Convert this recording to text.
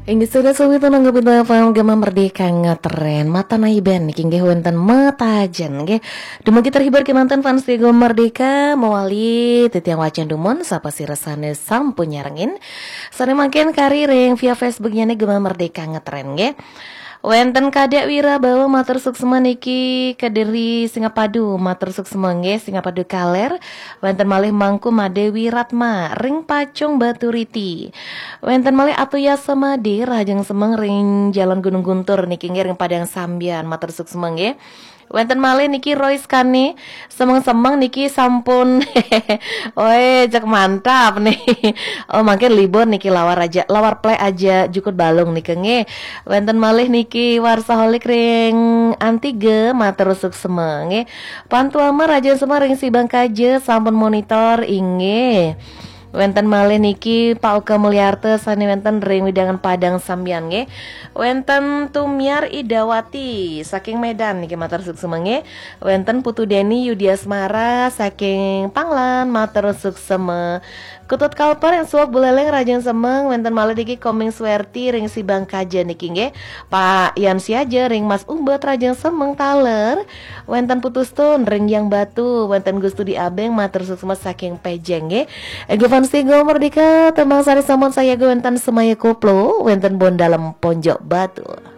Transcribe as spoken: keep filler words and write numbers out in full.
Inggih, sudah suwi tunang Gema Merdeka ngetren. Mata naiben niki nggih wenten metajen nggih. Dumugi terhibur kemanten fans Gema Merdeka, mawali titiang wacén dumun sapa sira sané sampun nyarengin. Sané mangkin kari ring via Facebooknya nih Gema Merdeka ngetren nggih. Wenten Kadek Wira Bawa matur suksma niki, Kediri Singapadu matur suksma nggih, Singapadu Kaler. Wenten malih Mangku Made Wiratma ring Pacung Baturiti. Wenten malih Atu Yasa Made rahajeng semeng ring Jalan Gunung Guntur niki nggih ring Padang Sambian matur suksma nggih. Wenten malih niki Royce Kane, semeng-semeng niki sampun. Oi, cek mantap nih. Oh, mangkin libur niki lawar aja, lawar plek aja jukut balung niki nggih. Wenten malih niki Warsaholik ring Antige matur suksma nggih. Pantuama rahajeng semeng ring Sibang Kaja sampun monitor inggih. Wenten malih niki Pak Oka Mulyarta sané wenten ring wewidangan Padang Sambian nggih. Wenten Tumiar Idawati saking Medan niki matur suksma nggih. Wenten Putu Deni Yudi Asmara saking Panglan matur suksma. Ketut Kalper ring Suwok Buleleng rahajeng semeng, wenten malih niki Koming Swerti ring Sibang Kaja niki nggih. Pak Yan Siaja ring Mas Umbet rahajeng semeng taler. Wenten Putu Stun ring Yang Batu, wenten Gustudi Abeng matur suksma saking Pejeng nggih. Ego fans Gema Merdeka, tembang sané sampun sayaga wenten Semaya Koplo, wenten Bon Dalem Ponjok Batu.